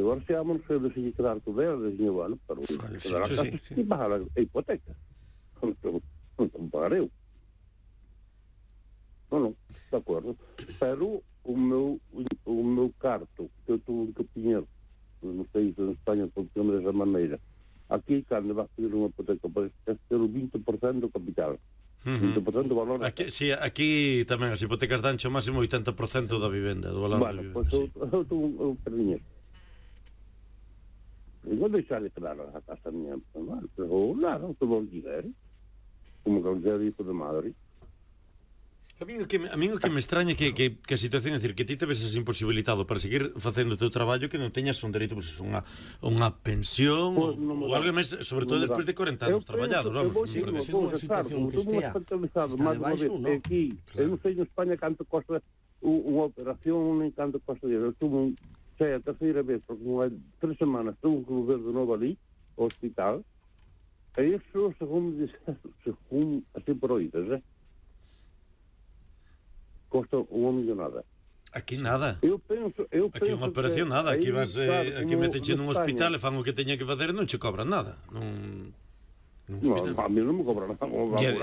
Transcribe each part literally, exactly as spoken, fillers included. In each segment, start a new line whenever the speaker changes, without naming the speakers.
divorciámonos, eu decidi quedar con ela, decidi, bueno, pero quedar a casa e pagar a hipoteca. Non pagar eu. Non, non, de acordo. Pero o meu, o meu carto, que eu tuve que pinhar nos países en España, funciona desa maneira. Aquí, cando vas pedir unha hipoteca, podes ter o vinte por cento do capital. vinte por ciento do valor.
Aquí, sí, aquí tamén as hipotecas dan o máximo oitenta por cento da vivenda, do valor
bueno,
da vivenda.
Bueno, pois
sí.
eu, eu tuve un perdiñero. E non deixarle claro a casa miña, pero nada, todo o alquiler, como que eu dixo de Madrid.
A mí o que, a mí o que me extraña que, que, que a situación é dicir, que ti te veses imposibilitado para seguir facendo o teu traballo, que non teñas un dereito, pues, unha, unha pensión pues, ou, ou algo máis, sobre todo despois de corenta anos traballados, vamos.
Sí, non unha situación que estea máis unha vez aquí, eu non sei en España canto costa unha operación, nem canto costa de eu tuve sei a terceira vez, porque unha tres semanas tuve que volver de novo ali ao hospital, e iso según según así por oídas, eh costa unha millonada.
Aquí nada.
Eu penso, eu
aquí unha operación nada, aquí vas eh, aquí metenche nun hospital e fan o que teña que facer e non che cobran nada. Non
No, a mí non me cobran nada,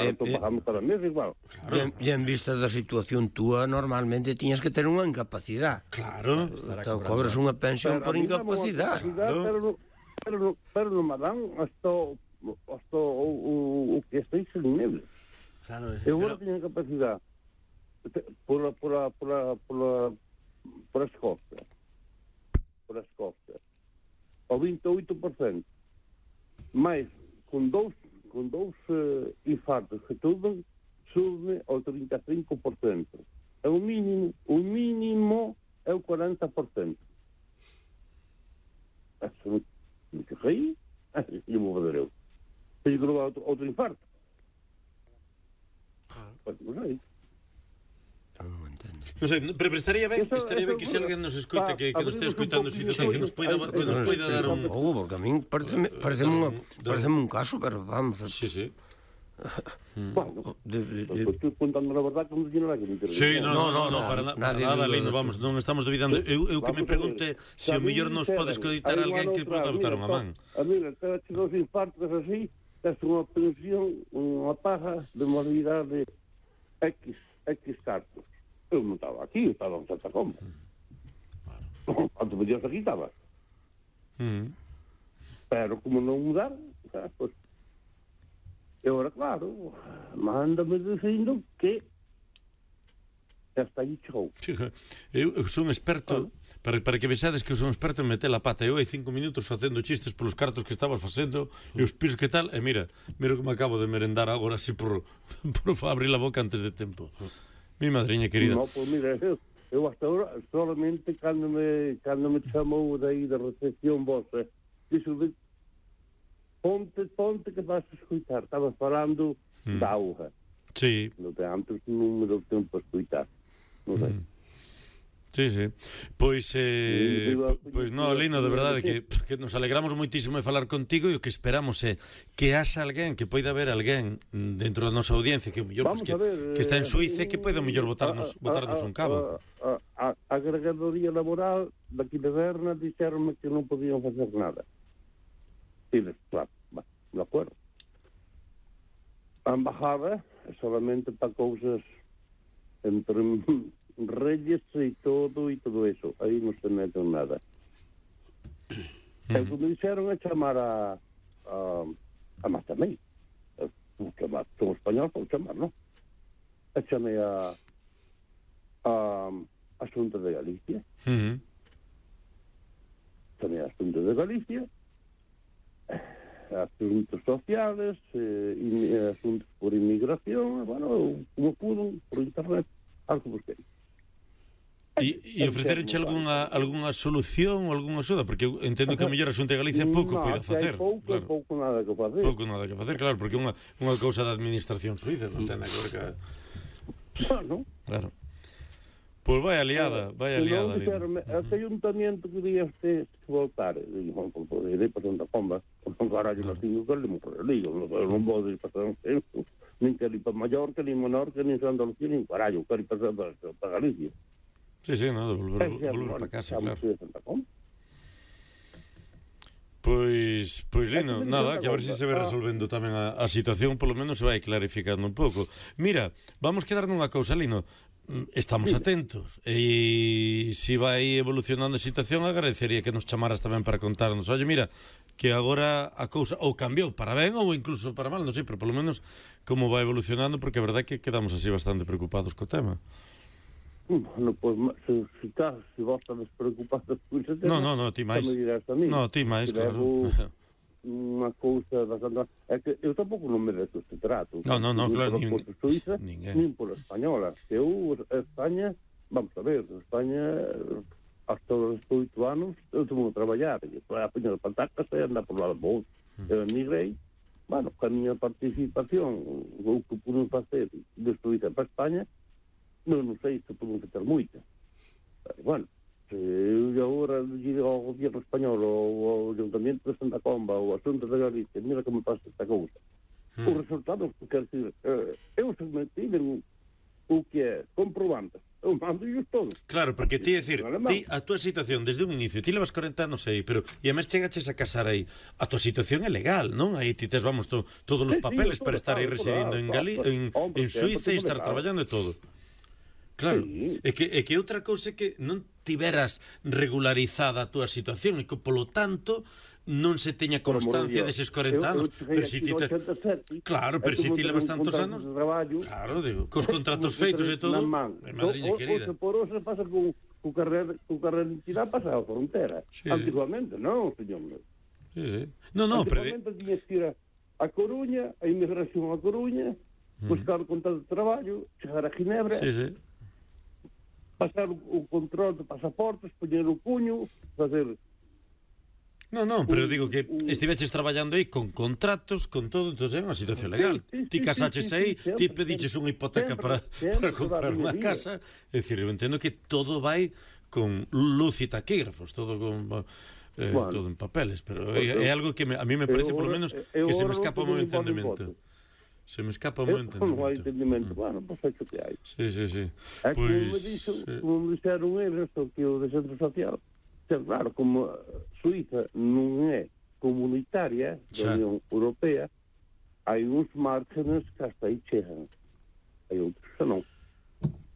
estou pagando cada mes igual.
Claro. E en vista da situación túa, normalmente tiñas que ter unha incapacidade.
Claro.
Então cobras unha pensión por incapacidade.
Pero pero pero non me dan hasta hasta o que estou sin nivel.
Claro.
Eu agora teño capacidade por a, por a, por a, por a, por as costas por as costas ao vinte e oito por cento mais con dous con dous uh, infartos que tuve sube ao trinta e cinco por cento é o mínimo o mínimo é o cuarenta por cento eso me que rei e vou fazer eu tenho que levar outro, outro infarto pois non sei.
Non sei, pero estaría ben, estaría ben que se alguén nos escoite, que, que nos estea escoitando, que nos poida que nos poida dar un...
Oh, porque a min pareceme un caso, pero vamos...
Sí, sí.
Bueno, estou contando a verdade como se non hai que me interesa.
Sí, no, no, no, para nada, Lino, vamos, non estamos dubidando. Eu que me pregunte se o mellor nos pode escoitar alguén que pode botar unha man.
A mí, cada che dos infartos así, tes unha pensión, unha paga de moralidade X, X cartos. Eu non estaba aquí, eu estaba en Santa Comba. Claro. Antes me dias aquí estaba.
Mm.
Pero como non mudaron, pues, e agora, claro, mándame dicindo que hasta aí chegou.
Eu, eu sou un experto, ah. para, para que vexades que eu sou un experto en meter a pata. Eu hai cinco minutos facendo chistes polos cartos que estabas facendo e os pisos que tal, e mira, mira como acabo de merendar agora así por, por abrir a boca antes de tempo. Mi madriña querida.
No, pues mira, eu, eu hasta ahora solamente cando me, cando me chamou daí da recepción vosa, dixo de ponte, ponte que vas a escutar. Estaba falando mm. da auga.
Sí.
No te antes non me deu tempo a escutar. Non sei. Mm.
Sí, sí. Pois, eh, pois no, Lino, de verdade que, que nos alegramos moitísimo de falar contigo e o que esperamos é que haxa alguén, que poida haber alguén dentro da nosa audiencia que, mellor, pues, que,
ver,
que está en Suiza e que poida mellor botarnos, botarnos un cabo.
A, a, a agregadoría laboral daqui de Berna dixeronme que non podían facer nada. E claro, de acordo. A embajada é solamente para cousas entre reyes e todo e todo eso, aí non se meten nada. Mm. E como dixeron é chamar a a, a máis tamén chamar, son español, vou chamar, non? E chamei a a a Xunta de Galicia.
Mm.
Chamei a Xunta de Galicia, asuntos sociales, eh, asuntos por inmigración, bueno, como pudo, por internet, algo busquei.
E, e ofrecerenche algunha, algunha solución ou algunha axuda? Porque eu entendo que a mellor a Xunta de Galicia pouco
no,
poida facer.
Pouco,
claro.
pouco nada que facer.
Pouco nada que facer, claro, porque é unha, unha cousa da administración suiza, non ten nada que ver que...
Bueno.
Claro. Pois vai aliada, vai aliada.
Ese ayuntamiento que diga usted que voltar, digo, non pode ir para Santa Comba, non carallo, non tengo que le morrer, digo, non vou ir para Santa Comba, nin que ir para Mallorca, nin Menorca, nin Santa Lucía, nin carallo, quero ir para Galicia.
Sí, sí, no, de volver, volver para casa, claro. Pois, pois Lino, nada, que a ver se se vai resolvendo tamén a, a situación, polo menos se vai clarificando un pouco. Mira, vamos quedar nunha cousa, Lino. Estamos atentos e se vai evolucionando a situación agradecería que nos chamaras tamén para contarnos, oye, mira, que agora a cousa ou cambiou para ben ou incluso para mal, non sei, pero polo menos como vai evolucionando, porque a verdade é que quedamos así bastante preocupados co tema.
Bueno, pois, se, se, se, se vos estás preocupados por ese tema,
no, no, no, ti máis. No, ti máis, claro.
Unha cousa bastante... É que eu tampouco non me deto este trato.
No, no, no, claro,
nin por Suíza, nin por española. Eu, España, vamos a ver, España, hasta os oito anos, eu tevo que traballar, e a peña de patacas e andar por lá de vos. Eu emigrei, bueno, con a miña participación, o que pude facer de Suíza para España, non, non sei se pude facer moita. Pero, bueno, se eu agora digo ao goberno español ou ao Ayuntamiento de Santa Comba ou a Xunta de Galicia, mira como pasa esta cousa, mm. os resultados, quer dizer, eh, eu se me piden o que é comprobantes, eu mando ellos todos.
Claro, porque ti, é dicir, ti, a túa situación desde un inicio, ti levas corenta anos aí, pero e a mes chegaches a casar aí, a túa situación é legal, non? Aí ti tes, vamos, to, todos os sí, papeles sí, para estar aí residindo en, Gali en, en Suíza e estar traballando e todo. Claro, sí. é, que, é que outra cousa é que non tiveras regularizada a túa situación e que, polo tanto, non se teña constancia deses corenta anos. Pero si ti te... Claro, pero si ti levas tantos anos... Claro, digo, cos contratos feitos e todo... É madriña querida.
O por eso pasa con o carrer de entidade pasa a frontera. Antiguamente, non, señor meu.
Sí, sí. No, no, pero...
Antiguamente tiñas que ir a Coruña, a inmigración a Coruña, buscar o contrato de traballo, chegar a Ginebra...
Sí, sí.
Pasar o control de pasaportes, poñer o puño, facer...
Non, non, pero un, digo que un... estiveches traballando aí con contratos, con todo, entón é unha situación legal. Sí, sí, ti casaches sí, sí, aí, sí, ti pediches unha hipoteca sempre, para, sempre, para comprar unha casa. É dicir, eu entendo que todo vai con luz e taquígrafos, todo con... Eh, bueno, todo en papeles, pero é, é algo que me, a mí me parece, polo menos, que se me escapa o meu entendemento. Se me escapa o meu entendemento.
Non hai entendimento. Mm. Bueno, pois é que hai.
Sí, sí, sí.
É pues, como me dixo, sí. como me dixeron eles, que o de centro social, que, claro, como Suíza non é comunitaria da Unión Europea, hai uns márgenes que hasta aí chegan. Hai outros que non.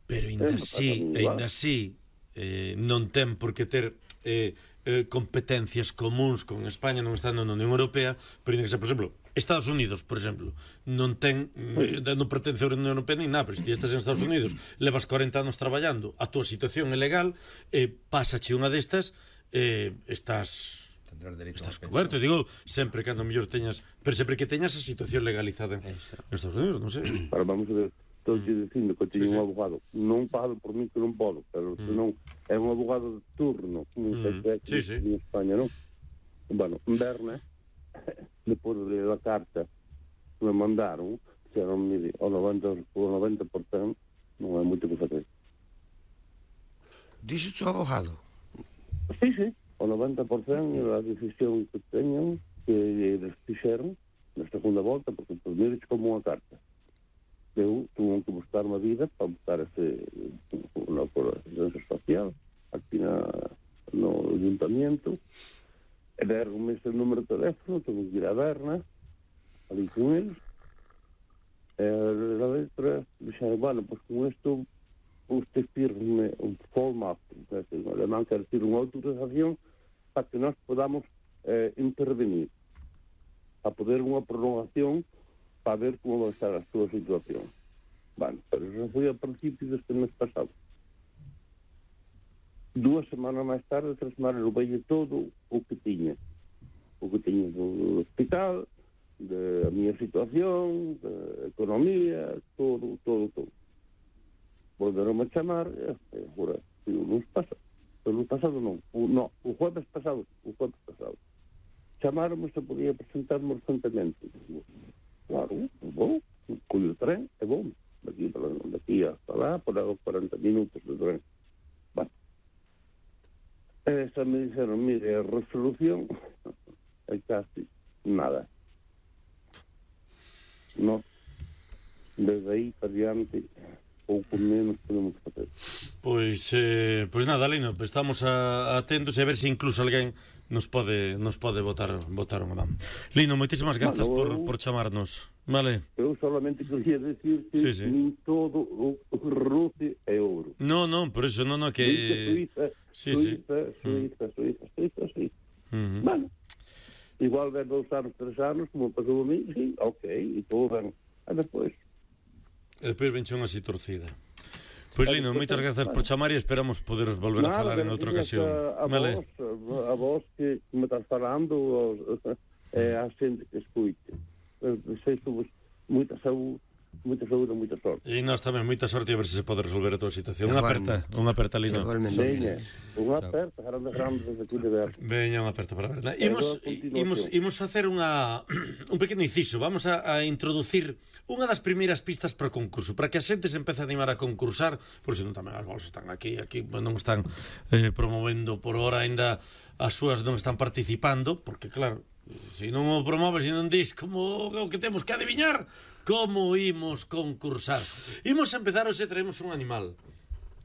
Pero ainda así, ainda así, eh, non ten por que ter... Eh, eh, competencias comuns con España non estando na Unión Europea, pero que ser, por exemplo, Estados Unidos, por exemplo, non ten eh, non pertence á Unión Europea ni nada, pero se ti estás en Estados Unidos, levas corenta anos traballando, a túa situación é legal, eh, pásache unha destas, eh, estás estás coberto, digo, sempre que ando mellor teñas, pero sempre que teñas a situación legalizada en, en Estados Unidos, non sei.
Pero vamos a ver, estou mm. dicindo que teño sí, un abogado, non pago por mí que non podo, pero mm. senón é un abogado de turno, como mm. se sí, sí. en España, non? Bueno, en Berna, depois de ler a carta que me mandaron, dixeron, mire, o noventa por cento non é moito que facer.
Dixo o abogado?
Sí, sí, o noventa por cento da decisión que teñan, que eles fixeron na segunda volta, porque por mí como unha carta. Eu tuve que buscar unha vida para buscar ese na asistencia social aquí na, no ayuntamiento e deron ese número de teléfono, tuve que ir a Berna ali con eles e a letra dixeron, bueno, pues con isto usted firme un format en alemán quer decir unha autorización para que nós podamos eh, intervenir a poder unha prolongación para ver como vai estar a súa situación. Bueno, pero eso foi a principio deste mes pasado. Dúas semanas máis tarde, tres semanas, eu veio todo o que tiña. O que tiña do hospital, de a miña situación, de economía, todo, todo, todo. Volveron a chamar, e agora, o lunes pasado, o lunes pasado non, o, no, o jueves pasado, o jueves pasado. Chamaron-me se podía presentarme urgentemente. Claro, vou, collo o tren e vou. Daqui, daqui hasta lá, por aí cuarenta minutos de tren. Bueno. Esa me dixeron, mire, a resolución é casi nada. No, desde aí para diante, pouco menos podemos facer.
Pois, eh, pois nada, Lino, estamos a, atentos a ver se incluso alguén nos pode nos pode botar botar unha man. Lino, moitísimas grazas
Bueno,
por,
eu-
por chamarnos. Vale.
Eu solamente quería decir que
Sí, sí.
nin todo o ruce é ouro.
No, non, por eso non, non que
Dice Suiza,
sí, sí.
Suiza, Suiza, Suiza, Suiza, Suiza.
Uh -huh.
Bueno, igual de dous anos, tres anos, como pasou a mí, sí, ok, e todo ben. E despois,
E depois venche unha así torcida. Pois Lino, moitas grazas por chamar e esperamos poder volver a falar en outra ocasión.
A, a,
Vale.
vos, a, a vos que me estás falando, os, é a xente que escuite. Desexo moita saúde, moita saúde e moita sorte.
E nós tamén, moita sorte a ver se se pode resolver a tua situación. Unha aperta, unha aperta, Lino.
Veña, unha aperta, grande, grande, desde aquí de ver.
Veña, unha aperta para ver. Imos, imos, imos facer unha un pequeno inciso. Vamos a, a introducir unha das primeiras pistas para o concurso, para que a xente se empece a animar a concursar, por se non tamén as bolsas están aquí, aquí non están eh, promovendo por hora aínda as súas non están participando, porque claro, se non o promoves e non dis como o que temos que adiviñar, como imos concursar. Imos empezar hoxe, traemos un animal.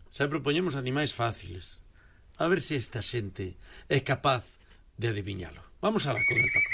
Sempre poñemos animais fáciles. A ver se esta xente é capaz de adiviñalo. Vamos alá con el Paco.